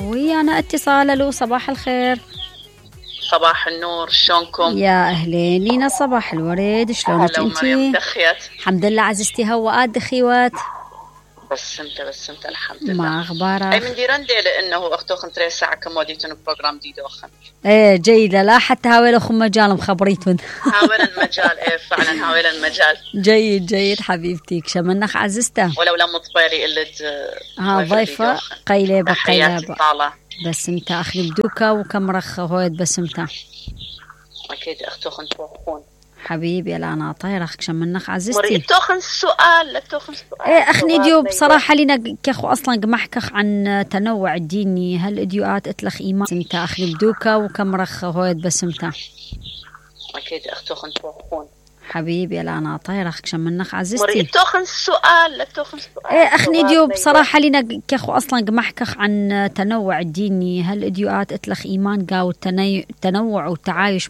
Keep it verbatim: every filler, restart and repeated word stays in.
ويانا اتصال. الو صباح الخير. صباح النور، شلونكم؟ يا اهلين لينا، صباح الورد، شلونك انتي؟ دخيت الحمد لله عزيزتي. هواءات دخيوات بس انت بس انت الحمد لله. ما اخبارك؟ اي من ديرندي لانه اختوخن تري ساعه كموديتون بروجرام دي دوخن. ايه جيده، لا حتى هاويل اخو مجال مخبريتون. هاويل المجال، ايه فعلا هاويل المجال. جيد جيد حبيبتي، شمنخ عزيزته. ولو لما طبيلي قلت ها ضيفه قيلبه قيلبه. طالع بس انت اخلي بدوكا وكم رخ هويد بس انت. اكيد اختوخن توخون حبيبي. لا انا طايرخ شمنخ عزيزتي. مريد توخن السؤال، لا توخن سؤال. ايه اخني ديو بصراحه لينا كخو اصلا قمحكخ عن تنوع الديني. هل اديوات اتلخ ايمان انت اخلي بدوكا وكم رخ هويد بس انت. اكيد اختوخن توخون حبيبي. لا انا طايرخ شمنخ عزيزتي. مريد توخن السؤال، لا توخن سؤال. ايه اخني ديو بصراحه لينا كخو اصلا قمحكخ عن تنوع الديني. هل اديوات اتلخ ايمان قاو التنوع والتعايش